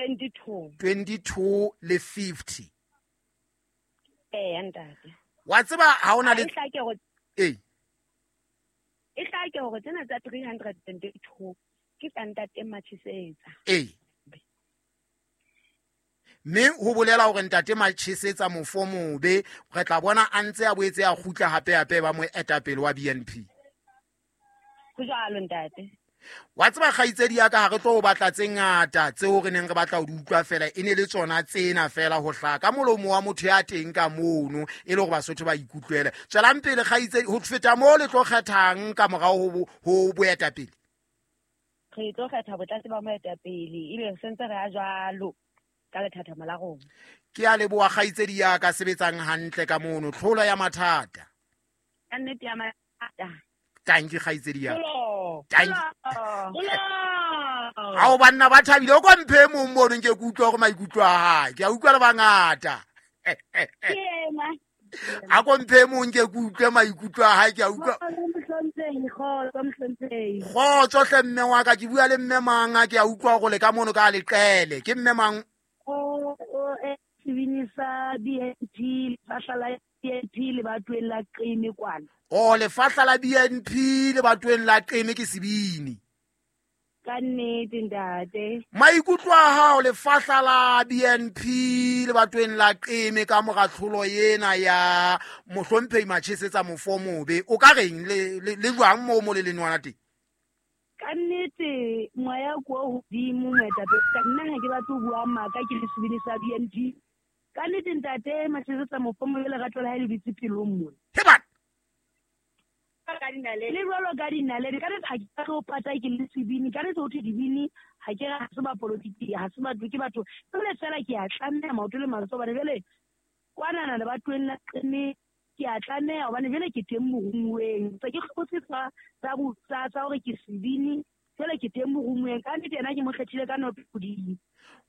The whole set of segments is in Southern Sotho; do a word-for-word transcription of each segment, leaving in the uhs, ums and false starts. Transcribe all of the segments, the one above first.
twenty-two twenty-two le fifty. Eh ntate. Wa tseba ha ona le eh e hlake hore tsena tsa three hundred and two ke tsa ntate Machesetsa. Eh. Mme ho bolela hore ntate Machesetsa mofo mobe re tla bona a ntse a boetse a kgutla hape hape ba moetapele wa B N P. Ho jwalo ntate. Wa tseba kgaitsedi ya ka ha re tlo batla tse ngata tseo re neng re batla ho di utlwa fela e ne le tsona tsena fela ho hlaka ka molomo wa motho ya teng ka mono e le hore Basotho ba ikutlwele. Tswelang pele kgaitsedi ho feta moo le tlo kgethang ka morao ho ho boetapele. Re tlo kgetha botlase ba moetapele ebe re sentse re a jwalo ka lethathamo la rona. Ke a leboha kgaitsedi ya ka sebetsang hantle ka mono tlholo ya mathata. Ka nnete ya mathata. Tanki kgaitsedi ya. Tanki. Ao banna ba thabile o kwa mphe mong mono nke ke utlwa hore maikutlo a hae. Ke a utlwa le bangata. A ko mphe mong ke utlwe maikutlo a hae ke a utlwa. Kgotso hle mme wa ka ke bua le mme mang a ke a utlwa hore le ka mono ka leqele. Ke mme mang? O o sebini sa B N P lefahla la B N P le batweng la Qeme kwana. O lefahla la B N P le batweng la Qeme ke sebini. Ka nnete ntate. Maikutlo a hao lefahla la B N P le batweng la Qeme ka mora tlholo ena ya mohlomphehi Machesetsa mofo mobe o ka reng le le jwang mo mo le lenwana teng? Ka nnete moya ko hodimo moetapele nna ha ke batlo bua maka ke le sebini sa B N P. Ka nnete ntate Machesetsa mofo mobe lerato la hae le dutse pelong mona. He bana le jwalo ka dinaledi ka nnete ha ke tlo pata ke le sebini ka nnete ho thwe dibini ha ke ra se ba politiki ha se batho ke batho jwale fela ke a tlameha maoto le matsoho hobane jwale kwanana le batweng la Qeme ke a tlameha hobane jwale ke teng morumuweng se ke hlotse tsa tsa tsa hore ke sebini jwale ke teng morumuweng ka nnete yena ke mo kgethile ka noto hodimo.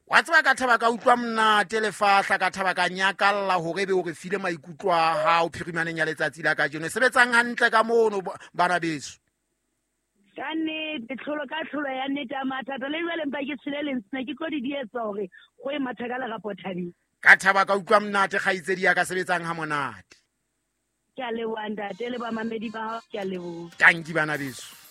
Wa tseba ka thaba ka utlwa monate lefahla ka thaba ka nyakalla hore ebe o re file maikutlo a hao phirimaneng ya letsatsi la kajeno. Sebetsang hantle ka mono bana beso. Ka nnete tlholo ka tlholo ya nnete ya mathata le jwale mpa ke tshele lentswe ke tlo di dietsa hore go e matha ka lerapo thabeng. Ka thaba ka utlwa monate kgaitsedi ya ka sebetsang ha monate. Ke a leboha ntate le bamamedi ba hao ke a leboha. Tanki bana beso.